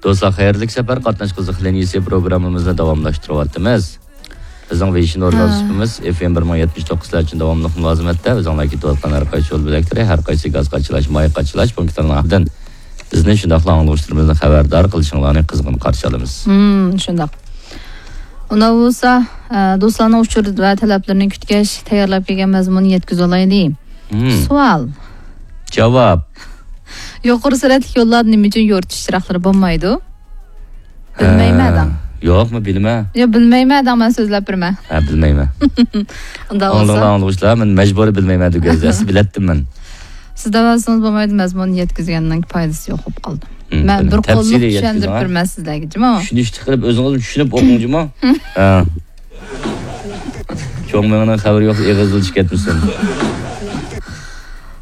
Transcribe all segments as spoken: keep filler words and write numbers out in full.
دوستلار، خەيرلىك سەپەر، قاتناش قىزىق لىنىيىسى پروگراممىمىزنى داۋاملاشتۇرۇۋاتىمىز. بىزنىڭ ۋېيشىن ئورگانىزمىمىز ئېف ئېم بىر مىڭ يەتمىش توققۇز ئۈچۈن داۋاملىق مۇلازىمەتتە. ئۆزۈڭلار كېتىۋاتقان ھەر قايسى يول بۆلەكلىرى، ھەر قايسى گاز قاچىلاش، ماي قاچىلاش پونكىتلىرىنىڭ ئالدىدىن بىزنى شۇنداقلا ئاڭلىغۇچىلىرىمىزنى خەۋەردار قىلىشىڭلارنى قىزغىن قارشى ئالىمىز. ھىم، شۇنداق. ئۇنداق بولسا، ئە، دوستلارنىڭ ئۇچۇر ۋە تەلەپلىرىنى كۈتكەچ، تەييارلاپ كەلگەن مەزمۇننى يەتكۈزۈۋالايلى. ھىم. سوئال. جاۋاب. يۇقىرى سۈرئەتلىك يوللاردا نېمە ئۈچۈن يورۇتۇش چىراغلىرى بولمايدۇ؟ بىلمەيمەن ئە، دەڭ. يوقمۇ، بىلمە. يا، بىلمەيمەن دەڭ، مەن سۆزلەپ بېرىمەن. ھە، بىلمەيمەن. ئۇنداق ئاڭلىڭلار، بولسا. ئاڭلىغۇچىلار، مەن مەجبۇرىي بىلمەيمەن دېگەن ئەسلى بىلەتتىم مەن. سىز دەۋالسىڭىز بولمايدۇ، مەزمۇننى يەتكۈزگەننىڭ پايدىسى يوق بولۇپ قالدى. مم، مەن بىلدىم. بىر قوللۇق تەپسىلىي يەتكۈزۈڭ، چۈشەندۈرۈپ ھە؟ بېرىمەن سىزلەرگە، جۇمۇ. چۈشىنىشلىك قىلىپ ئۆزىڭىزمۇ چۈشىنىپ ئوقۇڭ، جۇمۇ. ھە. چوڭ مېڭىنىڭ خەۋىرى يوق، ئېغىزدىن چىقىپ كەتمىسۇن.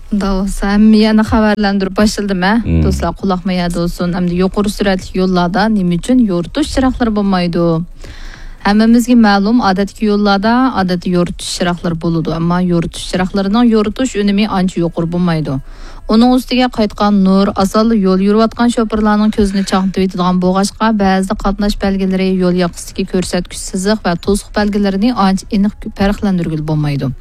ئۇنداق بولسا، ھەممە يەرنى خەۋەرلەندۈرۈپ باشلىدىم، ھە؟ مم. دوستلار، قۇلاق مەيەردە بولسۇن. ئەمدى يۇقىرى سۈرئەتلىك يوللاردا نېمە ئۈچۈن يورۇتۇش چىراغلىرى بولمايدۇ؟ ھەممىمىزگە مەلۇم، ئادەتتىكى يوللاردا ئادەتتە يورۇتۇش چىراغلىرى بولىدۇ، ئەمما يورۇتۇش چىراغلىرىنىڭ يورۇتۇش ئۈنۈمى ئانچە يۇقىرى بولمايدۇ. ئۇنىڭ ئۈستىگە قايتقان نۇر ئاسانلا يول يۈرۈۋاتقان شوپۇرلارنىڭ كۆزىنى چاقنىتىۋېتىدىغان بولغاچقا، بەزىدە قاتناش بەلگىلىرى، يول ياقىسىدىكى كۆرسەتكۈچ سىزىق ۋە توسۇق بەلگىلىرىنى ئانچە ئېنىق پەرقلەندۈرگىلى بولمايدۇ.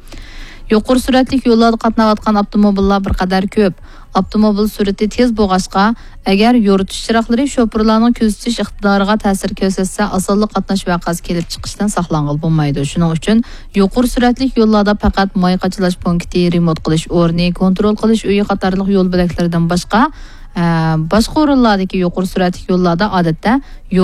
يۇقىرى سۈرئەتلىك يوللاردا قاتناۋاتقان ئاپتوموبىللار بىر قەدەر كۆپ. ئاپتوموبىل سۈرئىتى تېز بولغاچقا، ئەگەر يورۇتۇش چىراغلىرى شوپۇرلارنىڭ كۆزىتىش ئىقتىدارىغا تەسىر كۆرسەتسە، ئاسانلا قاتناش ۋەقەسى كېلىپ چىقىشتىن ساقلانغىلى بولمايدۇ. شۇنىڭ ئۈچۈن يۇقىرى سۈرئەتلىك يوللاردا پەقەت ماي قاچىلاش پونكىتى، رېمونت قىلىش ئورنى، كونترول قىلىش ئۆيى قاتارلىق يول بۆلەكلىرىدىن باشقا، ئە، باشقا ئورۇنلاردىكى يۇقىرى سۈرئەتلىك يوللاردا ئادەتتە